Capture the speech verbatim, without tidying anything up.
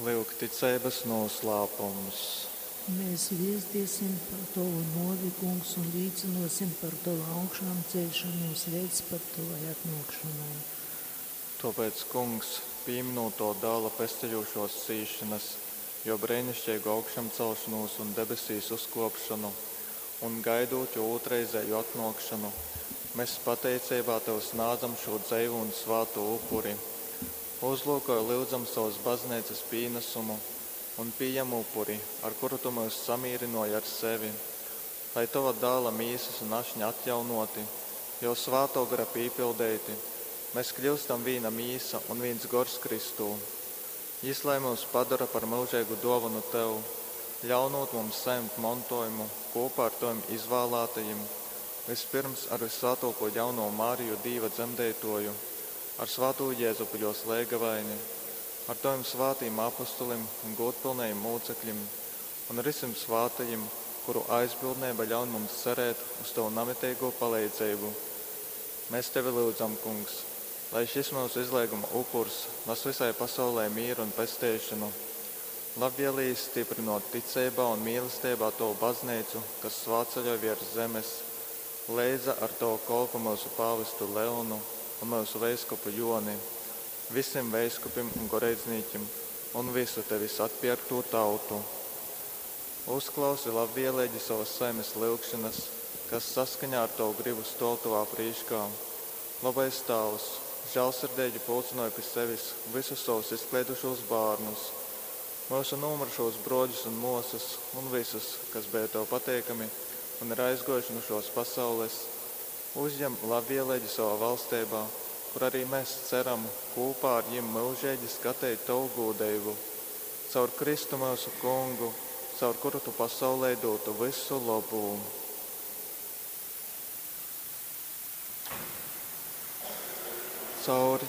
Lyuk ticeibas nūslāpums. Mēs viestīsim par Tovu nuovi, Kungs, un līcynuosim par Tovu augšāmceļšanos leidz pat Tovai atnuokšonai. Tuopēc, Kungs, pīminūt Tova dāla pestejušuos cīšanas, juo breinišķeigu augšamcelšonūs un debesīs uzkuopšonu, un gaidūt juo ūtrreizēju atnuokšonu, mes pateiceibā Tev snādzam šū dzeivū un svātū upuri. Uzlūkoj, lyudzam, sovas bazneicas pīnasumu un pījem upuri, ar kuru Tu myus samīrynuoji ar sevi, lai Tova dāla mīsas un ašņa atjaunuoti, Juo svātuo gara pīpildeiti, mēs kļiustam vīna mīsa un vīns gors Kristū. Jis lai myus padora par myužeigu duovonu Tev, ļaunūt mums sajimt montuojumu kūpā ar Tovim izvālātajim, vyspyrms ar vyssvātuokū jaunovu Mariju Dīva dzemdeituoju, ar svātū Jezupu juos leigavaini, ar Tovim svātīm apustulim un gūdpylnajim mūcekļim un ar vysim svātajim, kuru aizbildneiba ļaun mums cerēt uz Tovu namiteigū paleidzeibu. Mēs Tevi lyudzam, Kungs, lai šis myusu izleiguma upurs nas visai pasaulei mīru un pesteišonu. Labvēlīgi stiprinot ticeibā un mīlesteibā Tovu bazneicu, kas svātceļoj viers zemes, leidza ar Tovu kolpu myusu pāvestu Leonu un myusu veiskupu Joni, vysim veiskupim un goreidznīkim un vysu Tevis atpierktū tautu. Uzklausi labvēlīgi sovas saimes lyugšanas, kas saskaņā ar Tovu gribu stuov Tovā prīškā. Lobais Tāvs, žālsirdeigi pulcynoj pi sevis vysus sovus izkleidušūs bārnus, myusu nūmyrušūs bruoļus un muosys un vysus, kas beja Tev pateikami un ir aizguojuši nu šuos pasaules. Uzjem labvēlīgi sovā valsteibā, kur arī mēs ceram kūpā ar jim myužeigi skateit Tovu gūdeibu. Caur Kristu myusu Kungu, caur kuru Tu pasaulei dūtu vysu lobū. Caur